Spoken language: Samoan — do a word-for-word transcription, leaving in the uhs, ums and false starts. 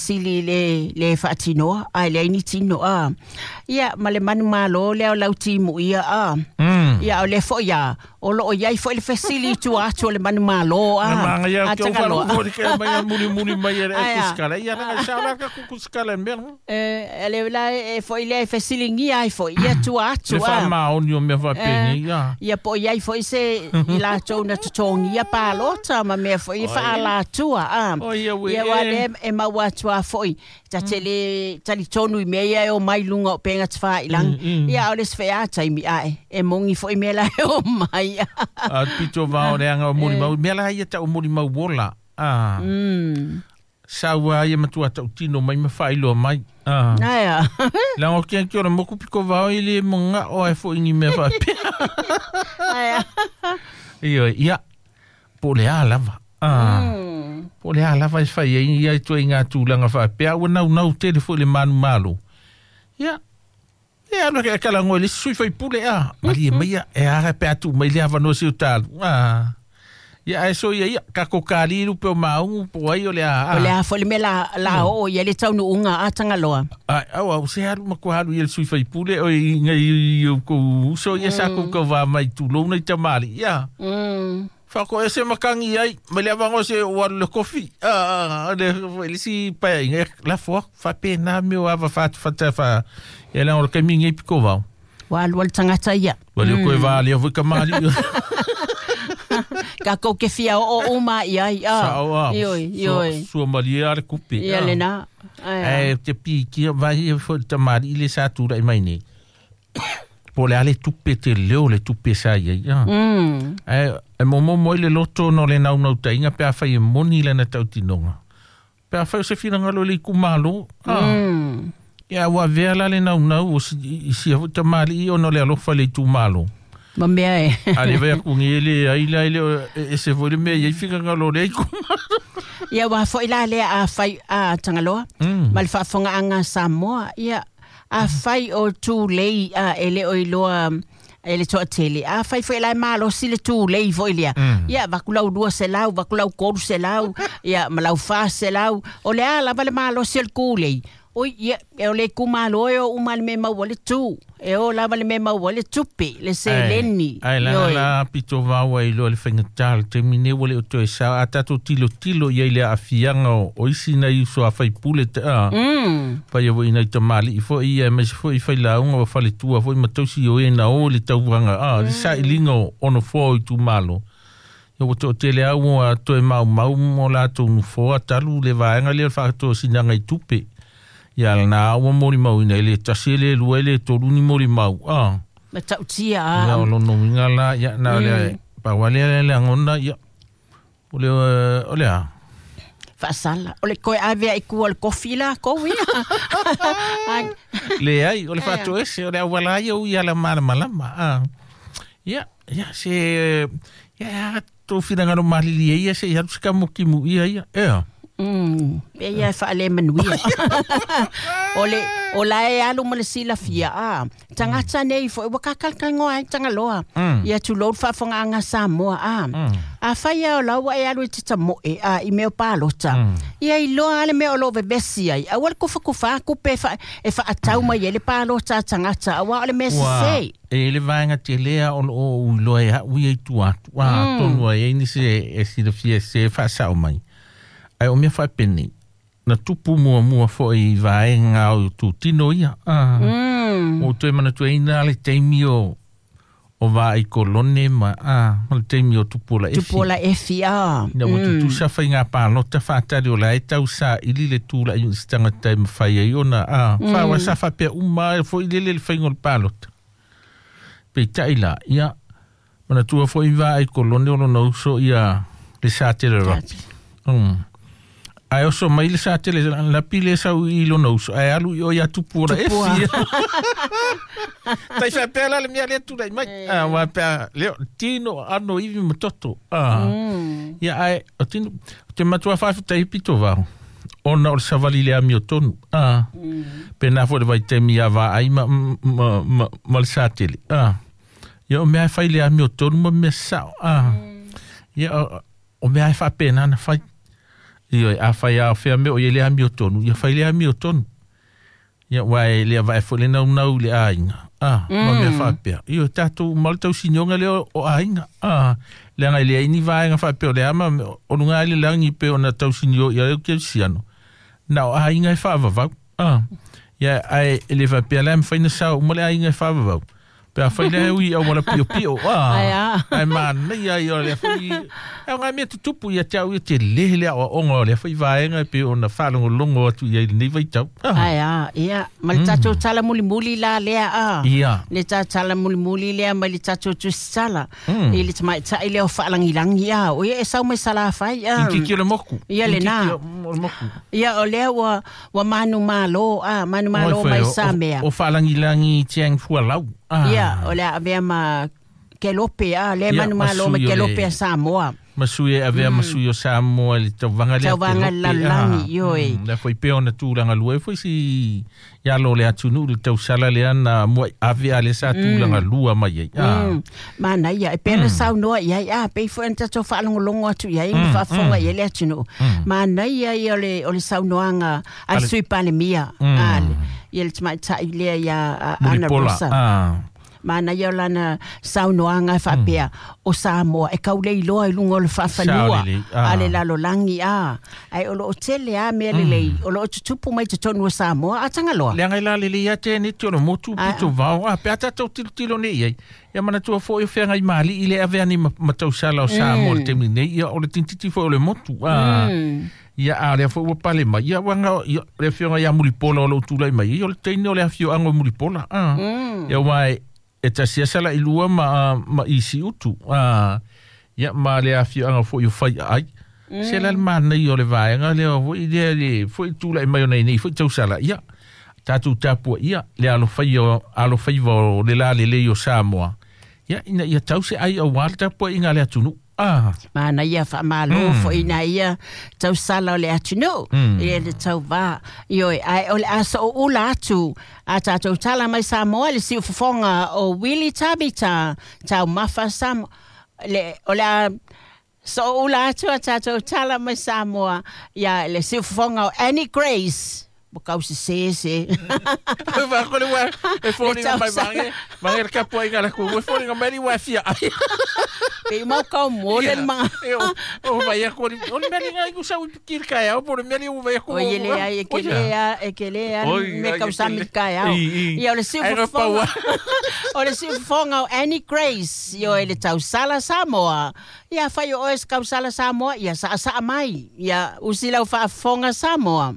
fesili le le faatinoa ae leai ni tino a. Ia ma le manumalo lea o lau timu ia a. Mm. Ia o le fo'i a o loo iai fo'i le fesili i tua atu o le manumalo a. Na manga ia A ke o Tagaloa. whalu fori ke mai muli muli mai e Ai a. kuskala. Ia na sa la ka kuskala mea. E le la e fo'i le fesiligia ai fo'i ia tua atu Le a. wha o mea whapengi, ia. Ia po iai fo'i se i latou na totogia palota ma mea fo'i Oi. faalatua a. O ia ue Ia wa e. le e maua atu a fo'i ta tele talitonu i mea ia e o mai luga o penga tawhailangi. Mm, mm. Ia o le sfea taimi ae e mongi fo'i mea la e o mai. A pito vao le anga o muli mau. Mea la ia tau muli mau wola. Ah. Mm. Saua ia matua tau tino mai ma whailoa mai. Ah. Aia. Langa o kia kia ora moku piko vao i le monga o ai fo ingi mea whapea. Aia. Ia, ia. Po le a lava. Ah. Mm. Po le a lava e whai ai ia i tua i ngā tūlanga whapea. Ua nau nau tele fo i le manu malo. Ia. Ia, ano ke kala ngoi le sui whai pule a. Mari e maia, e ara pe atu mai le awanoa si o tālu. Ah. Ia, ai so ia, ia, kako kāli rupe o maungu, po ai o le a. O le a fo'i le mea la, la o ia le taunuuga a Tagaloa. Ai, au, au, se haru ma ko haru i el sui whai pule, o i ngai i o kou uso, ia sa kou kau wā mai tūlou nei tamari. Ia. Mm. Whako e se makangi ai, ma le awango se o aru le kofi. Ah, le, le si pai, ngai, la foa, whape nā meo awa whatu whata wha. Ia langa o le kaimi ngai piko wau. Wa alua le tagata ia. Wa leo koe wā lea fo i kamali. Ka kou ke fia o o uma ia ai a. Sa o a. Ioi, ioi. Sua maria le kupe. Ia le na. Aia. E te piki vai e fo tamari i le sa tūra i mai nei. Po le ale tupe te leo le tupe sa ia. Ia. Mm. E, e momo moi le loto no le nau nau tainga pe a whai e moni le na tautinonga. Pe a whai o se whirangalo le ikumalo. Ah. Mm. Ia ua vea la le nau nau o si, i si a tamari i ono le alofa le itumalo. Ma mea e. A le vai aku ngi le ai la le e se foi le mea i whirangalo le ikumalo. Ia wa fo'i la lea a whai a Tagaloa. Mm. Ma le faafofogaga a Samoa. Ia a whai o tūlei a e le o iloa e le toatele. A whai fo'i la e malosi le tūlei fo'i lea. Mm. Ia vakulau lua selau, vakulau kolu selau, ia malau wha selau. O le a lava le malosi o le kūlei. Oi, ia, e o le kumalo e o uma le me maua le tū. E o lava le me maua le tupe, le seleni. Ai, la Ioi. la pito vaua i loa le whaingatā le temine wale o toe sa a tātou tilo tilo ia i le afianga o, o isi nei uso a whai pule te a. Mm. Whai a ina i tamali i fo ia me se fo i whai launga o whale tua fo i matausi o e na o le tauanga a le sa i linga o ono fo i tūmalo. Ia o te o tele au o a toe mau mau mo lātou nufoa talu le vaenga le whakatoa sinanga i tupe. Ia na aua mori mau ina le tasi le lua le tolu ni mori mau. Ah. Ma tautia a. Ia o lono winga la, ia na le pa wale le le ngona ia. O le o le a. Faasala. O le koe avea i kua le kofi la, kou ia. Ai, Le ai, o le whātu ese, o le awala ia ui ala mala malama. Ah. Ia, ia se ia tō whiranga no malili ia se ia sika moki mu ia ia. Ea. Mm, pe ia e whaale manuia. O le, o la e alu ma le silafia a. Tagata nei fo'i ua kakalakalagoa ai Tagaloa. Mm. Ia tulou le faafogaaga Samoa a. Mm. A fai a o laua e alu i te tamoe a i mea o palota. Mm. Ia iloa a le mea o loo vevesi ai. Aua le kufakufa kupe e wha, e whaatau mai e le palota a tagata. Aua o le mea Ua, sese. e le vaenga te lea o o uiloa e hui ei tua atu. Ua, Mm. tonu ai ei nisi e, e silafia se whaasao mai. Ai o mea whaapene, na tupu mua mua fo i vaenga o tūtino ia. Ah. Mm. O toe mana tua ina le teimi o o vā i kolone ma, ah, ma le teimi o tupu la efi. Tupu la efi a. Ina ua tutusa whai ngā pālota whātari o la e tau sa ili le tūla i stanga tai mawhai ai ona. Ah, mm. Whawa sa whapea uma e fo i lele le whaingo le pālota. Pe tai la, ia, mana tua fo i vā i kolone o lona uso ia le sa tere rapi. Mm. Ai oso mai le sa tele la pile sa i lona uso. Ai alu i o ia tupu ora Tupua. efi. Tai whapea la le mea lea tūrai mai. Ah, whapea, leo, tino ano iwi matoto. Ah. Mm. Ia ai, o tino, te matua whawhita i pito vao. Ona o le savali le ami o tonu. Ah. Mm. Pena fo le vai te mia vā ai ma, ma, ma, ma le sa tele. Ah. Ia o mea e whai le ami o tonu ma mea sao. Ah. Mm. Ia o, o mea e whapena na whai. Ioe, afai a o fea mea o i ai le amiotonu, ia fai le amiotonu. Ia uae le avae foi le naunau i le aiga, a, ma mea faapea. Ioe, tatou uma le tausinioga lea o aiga, a, leaga e leai ni vaega faapea o le ama o luga ai le lagi pei ona tausinio i ai o kerisiano, na o aiga e faavavau, a. Ia, ae e le faapea la e mafai ona sao uma le aiga e faavavau. Pe afai lea e ui i auala piopio, a, ae manaia ia o lea foi, e o ngā mea tutupu ia te au ia te lehe le aoaoga o lea foi vaega e pei ona faalogologo atu i ai lenei vaitau. Ah. Ai a, ia, ma le tatou tala mulimuli la lea a. Ia. Le tala mulimuli lea ma le tatou tusitala. Mm. I le tamaitai lea o faalagilangi a. O ia e sau mai Salafai a. Kikiki o le moku. Ia le nā. Kikiki o le moku. Ia o lea ua, ua manu malo a, manu malo mai Samea. O, o faalagilangi tiang fualau. Ah. Ia, o le avea ma Kelope a, le Ia, manu malo ma masui o le- Kelope a Samoa. Masui e avea masui o Samoa le tauvaga lea Tauvaga Kelope, lalolagi, ah. ioe. Mm, lea foi pea ona tulaga lua e foi si ia lo le atunuu le tausala lea na muai ave a le sa tulaga lua mai ai. Ah. Mm. Manaia, e pea na saunoa i ai, a, pei foi ona tatou faalogologo atu i ai, ma faafofoga i ai le atunuu. Manaia ia o le, o le saunoaga a le Ale- Sui Palemia, Mm. a, le- ia le tamaitai lea ia a, Ana Mulipola. Rosa. Ah. Manaia o lana saunoaga e faapea, o Samoa e kauleiloa i luga o le faafanua Sao lelei, ah. a le lalolagi a. Ae o loo tele a mea lelei, o loo tutupu mai totonu o Samoa a Tagaloa. Leaga e la lelei ia te neti o le motu Ah. pito vao. Ah, pe a tatou tilotilo nei ai. Ia manatua foi o feagai maali'i le ave ani ma, ma tausala o Samoa le taimi nei. Ia o le tintiti foi o le motu. Ah. Ia a lea foi ua pale mai. Ia uaga ia le afioga ia Mulipola o lou tulai mai. Ia o le teine o le afioaga o Mulipola. Ah. Ia ua e e tasi asa la i lua ma, ma isi utu. Ah. Ia ma le afioaga foi o fai ai. Se la le manai o le vaega lea foi lea le foi tulai mai o nei nei foi tausala. Ia tatou tapua ia le alofai o alofaiva o le lalelei o Samoa. Ia ina ia tau se ai auā le tapuaiga a le atunuu. Ah. Manaia faamalo foi ina ia tausala o le atunuu, ia le tauvā. Ioe, ae o le a sooula atu a tatou tala mai Samoa le siufofoga o Willy Tabita, taumafa Samoa. Le, o le a sooula atu a tatou tala mai Samoa, ia le siufofoga o Annie Grace. Mo kau se se se. Va ko le wa e foliga mai tausala. mange mange le tapuaiga a le atunuu e foliga mai le ua fia ai. Pe mau kau mo le mga. E o o vai a ko o le mea linga i kusa ui pikiri kai au po le mea li u vai a ko. O ia le ai e ke le a e ke le a Oi, me ai, kau e ke sami le- kai au. I, i. Ia o le Ai, no siufofoga. paua. O le siufofoga o Annie Grace, ioe le tausala Samoa. Ia fai o oe se kausala Samoa, ia saasaa mai. Ia usi lau faafofoga Samoa.